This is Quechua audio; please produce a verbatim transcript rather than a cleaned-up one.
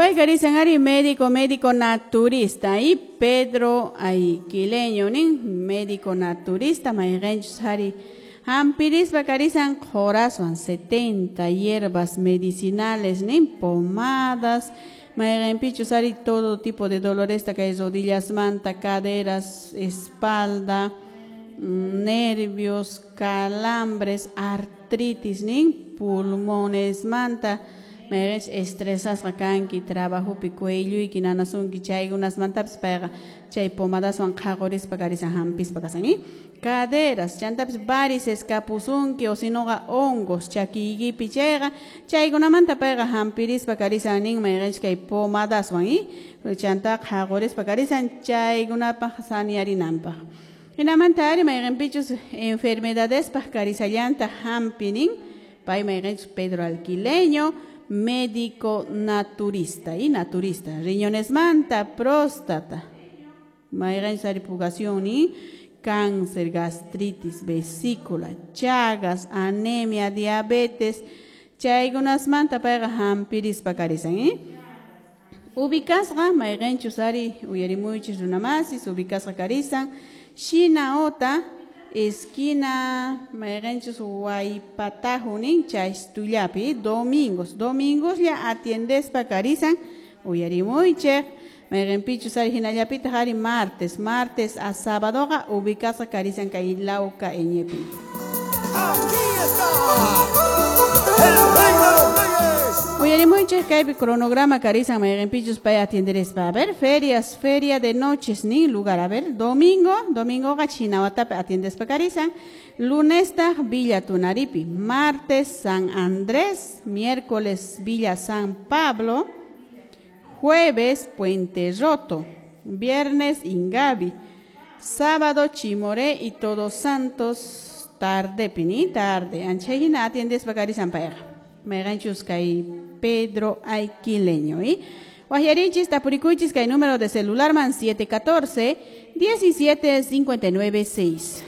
Pay karisan ari médico, médico naturista y Pedro Aiquileño nin médico naturista mayqinchus ari hampirispa karisan qhuraswan setenta hierbas medicinales nin pomadas mayqinpichus ari todo tipo de doloresta kay rodillasmanta caderas, espalda, nervios, calambres, artritis nin pulmonesmanta mayqinchus estresasqa kanki trabajopi cuelluyki nanasunki chaykunasmantapis payqa chay pomadaswan qhaqurispa karisan hampispa kasan i caderas chantapis varices kapusunki o sinoqa hongos chakiykipi chayqa chaykunamanta payqa hampirispa karisan nin mayqinchus kay pomadaswan i chanta qhaqurispa karisan chaykunapaq saniarinanpaq hinamanta ari mayqinpichus enfermedadespaq karisallanta hampi nin pay mayqinchus Pedro Alquileño médico naturista y naturista riñonesmanta próstata mayqinchus ari pugación nin cáncer, gastritis, vesícula, chagas, anemia, diabetes chaykunasmanta payqa hampirispa karisan eh? Ubicasqa mayqinchus ari uyarimuychis runamasis ubicasqa karisan Shinaota esquina mayqinchus Waypatahu nin chaystullapi domingos domingoslla atiendespa karisan uyarimuychik mayqinpichus ari hinallapitaq ari martes martes a sábadoqa ubicasqa karisan kay Lauca Eñepi. Aquí está el rey de los reyes. Uyarimuychik kaypi cronograma karisan mayqinpichus pay atienderespa. A ver, ferias, feria de noches nin lugar. A ver, domingo, domingoqa Chinawatapi atiendespa karisan. Lunestaq Villa Tunaripi, martes San Andrés, miércoles Villa San Pablo, jueves Puente Roto, viernes Ingavi, sábado Chimoré y Todos Santos tarde pini tarde. Anchayhina atiendespa karisan payqa. Mayqinchus kay Pedro Aiquileño y Waqyarinchis tapurikuychis kay número de celular man siete catorce, diecisiete cincuenta y nueve seis.